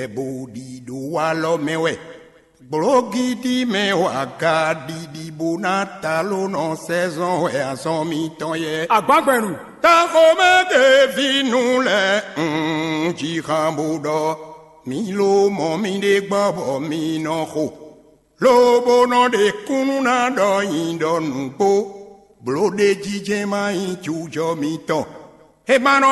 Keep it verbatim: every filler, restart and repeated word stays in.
Ɛbó ɖi ɖo walɔ mɛ wɛ. Gblǒgídí mɛ wa ka ɖiɖi bó ná taló nɔ sɛzɔn wɛ azɔn mitɔn yɛ. Agbǎgbɛnu. Taxomɛ ke vínú lɛ un jixan bó ɖɔ mi ló mɔ mi ɖe gbɔ bɔ mi nɔ xo. Lobo nɔ ɖe kúnnú ná ɖɔ nyi ɖɔ nǔgbó. Bló ɖé jijɛ má nyí jujɔ mitɔn. E ma nɔ